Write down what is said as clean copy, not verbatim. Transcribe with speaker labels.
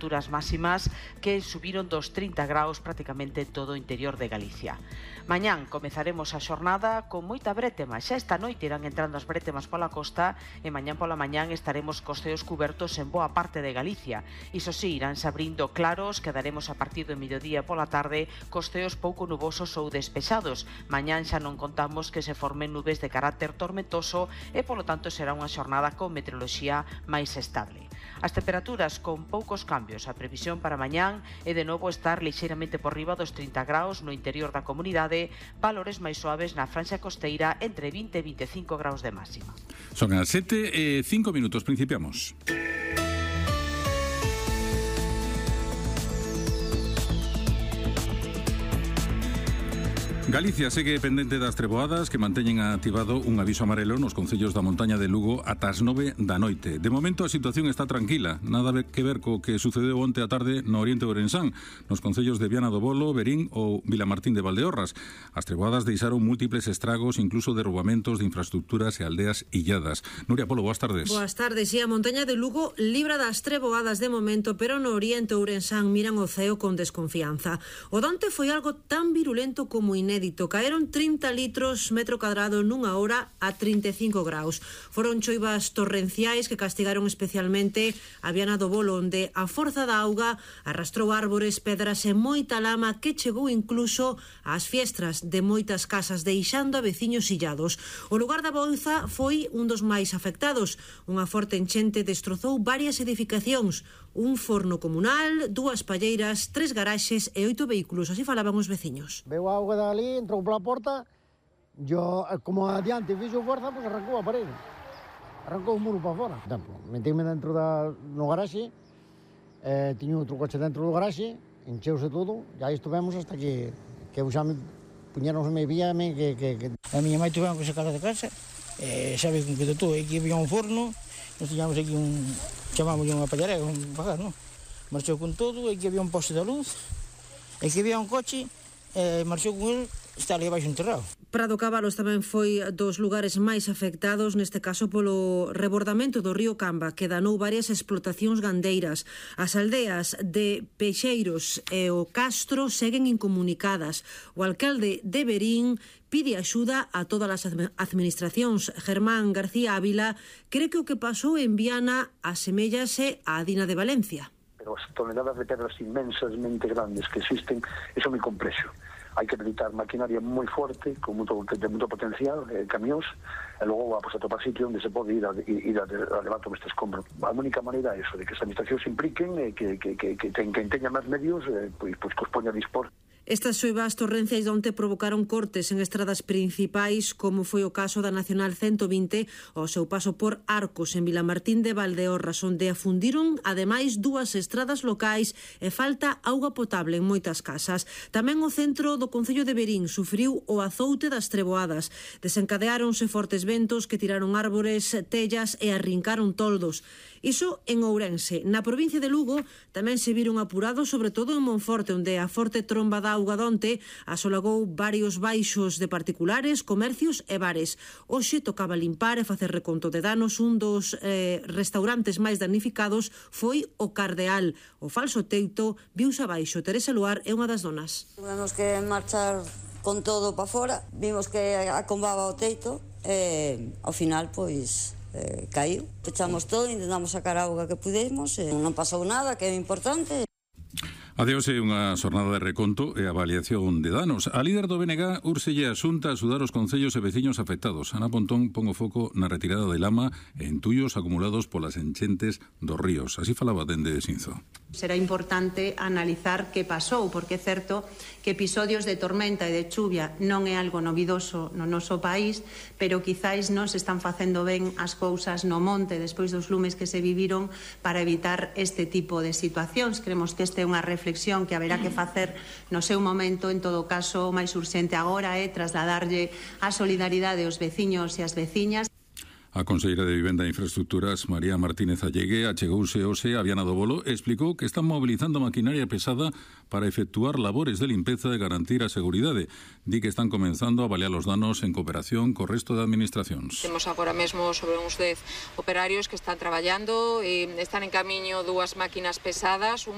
Speaker 1: temperaturas máximas que subiron dos 30 graus prácticamente en todo o interior de Galicia. Mañán comezaremos a xornada con moita brétema. Xa esta noite irán entrando as brétemas pola costa e mañán pola mañán estaremos cos ceos cubertos en boa parte de Galicia. Iso sí, iránse abrindo claros, quedaremos a partir do mediodía pola tarde cos ceos pouco nubosos ou despexados. Mañán xa non contamos que se formen nubes de carácter tormentoso e polo tanto será unha xornada con meteoroloxía máis estable. As temperaturas con poucos cambios. A previsión para mañán é de novo estar lixeiramente por riba dos 30 graus no interior da comunidade, valores máis suaves na franxa costeira entre 20 e 25 graus de máxima.
Speaker 2: Son as 7:05, principiamos. Galicia segue pendente das treboadas que manteñen activado un aviso amarelo nos concellos da montaña de Lugo ata as 9 da noite. De momento a situación está tranquila, nada que ver co que sucedeu onte á tarde no oriente de Ourensán, nos concellos de Viana do Bolo, Verín ou Vilamartín de Valdeorras. As treboadas deixaron múltiples estragos, incluso derrubamentos de infraestructuras e aldeas illadas. Nuria Polo, boas tardes.
Speaker 3: Boas tardes, e a montaña de Lugo libra das treboadas de momento, pero no oriente de Ourensán miran o ceo con desconfianza. O donte foi algo tan virulento como inédito. Caeron 30 litros metro cadrado nunha hora a 35 graus. Foron choivas torrenciais que castigaron especialmente a Viana do Bolo, onde a forza da auga arrastrou árbores, pedras e moita lama que chegou incluso ás fiestras de moitas casas, deixando a veciños illados. O lugar da Bouza foi un dos máis afectados. Unha forte enchente destrozou varias edificacións, un forno comunal, 2 palleiras, 3 garaxes e 8 vehículos. Así falaban os veciños.
Speaker 4: Veo a auga dali, entrou pola porta, yo, como adiante fixo forza, pues arrancou a parede. Arrancou o muro para fora. Metíme dentro no garaxe, tiño outro coche dentro do garaxe, encheuse todo, e aí estuvemos hasta que xa me puñéronsme víame que...
Speaker 5: A miña mãe tuvemos que sacar de casa, sabe con que todo, aquí había un forno, nos tiñamos aquí chamámoslle unha pallarega, un pagar, non? Marchou con todo, aquí había un poste de luz, aquí había un coche, marchou con ele, está ali abaixo enterrado.
Speaker 3: Prado Cabalos tamén foi dos lugares máis afectados, neste caso polo rebordamento do río Camba, que danou varias explotacións gandeiras. As aldeas de Peixeiros e o Castro seguen incomunicadas. O alcalde de Verín pide axuda a todas as administracións. Germán García Ávila cree que o que pasou en Viana asemellase á Dina de Valencia.
Speaker 6: Pero as toneladas de pedras inmensamente grandes que existen, eso é moi complexo. Hai que habilitar maquinaria moi forte, de moito potencial, camións, e logo a topar sitio onde se pode ir a levar todo este escombro. A única maneira é eso, de que as administracións se impliquen, que teña máis medios, pois que os poña a dispor.
Speaker 3: Estas xoivas torrenciais onte provocaron cortes en estradas principais, como foi o caso da Nacional 120 ao seu paso por Arcos, en Vilamartín de Valdeorras, onde afundiron ademais 2 estradas locais e falta auga potable en moitas casas. Tamén o centro do concello de Verín sufriu o azoute das treboadas. Desencadeáronse fortes ventos que tiraron árbores, tellas e arrincaron toldos. Iso en Ourense. Na provincia de Lugo tamén se viron apurados, sobre todo en Monforte, onde a forte tromba da auga donte asolagou varios baixos de particulares, comercios e bares. Hoxe tocaba limpar e facer reconto de danos. Un dos restaurantes máis damnificados foi o Cardeal. O falso teito viuse abaixo. Teresa Luar é unha das donas.
Speaker 7: Tuvemos que marchar con todo para fora. Vimos que acombaba o teito e ao final, pois... caiu, pechamos todo, intentamos sacar a auga que pudemos, non pasou nada, que é importante.
Speaker 2: Adeus é unha xornada de reconto e avaliación de danos. A líder do BNG úrselle a Xunta a axudar os concellos e veciños afectados. Ana Pontón pon o foco na retirada de lama e entullos acumulados polas enchentes dos ríos. Así falaba dende Sinzo.
Speaker 8: Será importante analizar que pasou, porque é certo que episodios de tormenta e de chuvia non é algo novidoso no noso país, pero quizáis non se están facendo ben as cousas no monte despois dos lumes que se viviron para evitar este tipo de situacións. Creemos que esta é unha reflexión que haberá que facer no seu momento. En todo caso, o máis urxente agora é trasladarlle a solidaridade aos veciños e as veciñas.
Speaker 2: A conselleira de Vivenda e Infraestructuras, María Martínez Allegue, achegouse hoxe a Viana do Bolo e explicou que están mobilizando maquinaria pesada para efectuar labores de limpeza e garantir a seguridade. Di que están comenzando a avaliar os danos en cooperación co resto de administracións.
Speaker 9: Temos agora mesmo sobre uns 10 operarios que están traballando e están en camiño 2 máquinas pesadas,